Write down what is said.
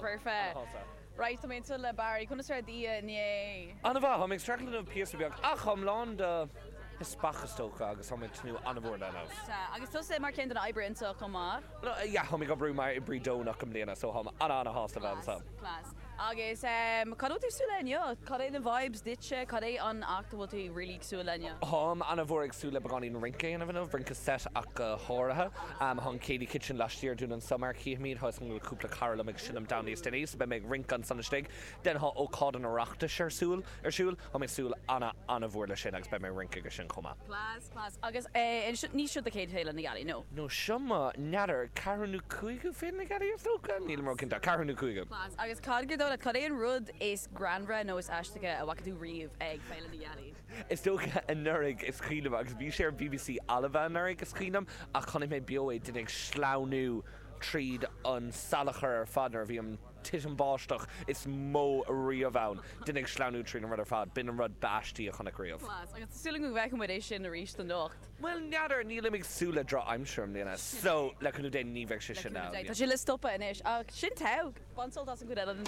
Foirfe. Ana-shásta. Right, tá mé anseo le Barry. Conas raibh d'oíche inné? An-mhaith, tá mé ag streachailt inniu píosa beag ach táim lán de mhisneach is dócha agus tá mé ag tnúth an-mhór le inniu. Sea, agus tusa mar cheann de na oibrithe anseo chomh maith. Yeah, tá mé ag oibriú mar oibrí deonach i mbliana so táim ana-ana-shásta bheith Class, anseo. class. Agus cad a bhfuil tú ag súil le inniu? Cad é na vibes duitse? Cad é an act a bhfuil tú really ag súil le inniu? Táim ana-mhór ag súil le beagáinín rince a dhéanamh inniu, rince set ach go háirithe. Tá an Céilí Kitchen laistiar dúinn anseo mar chífimid, tá 'fhios agam go bhfuil cúpla cara liom ag seinm ann níos déanaí so beidh mé ag rince ansan istigh. Then tá ócáid an Oireachtais ar súil, ar siúl, tá mé ag súil ana, ana-mhór le sin agus beidh mé ag rince aige sin chomh maith. Class, class. Agus eh, ní seo do chéad Féile na Gealaí, nó? No, seo mo, n'fheadar, ceathrú nó cúigiú Féile na Gealaí is dócha? Nílim ró-chinnte, ceathrú nó cúigiú. Class. Agus cad gur dóigh leat, cad é an rud is greannmhaire nó is aisteacha a bhfaca tú riamh ag Féile na Gealaí? Is dócha anuraidh, is cuimhin liom, agus bhí sé ar bbc Alba anuraidh, is cuimhin liom, ach chonaic mé beo é, duine ag sleamhnú tríd an salachar ar fad nuair a bhí an titim báisteach is mó riamh ann, duine ag sleamhnú tríd an rud ar fad, b'in an rud b'aistí a chonac riamh. Class. Agus tá súil agam go bhfeicfidh muid é sin arís anocht. Bhuel, n'fheadar, nílim ag súil le drochaimsir i mbliana, so, le cúnamh Dé, ní bheidh sé Le sin cúnamh ann. Dé. Tá sé le stopadh anois. Ach sin togha! Bain sult as an gcuid eile den féile.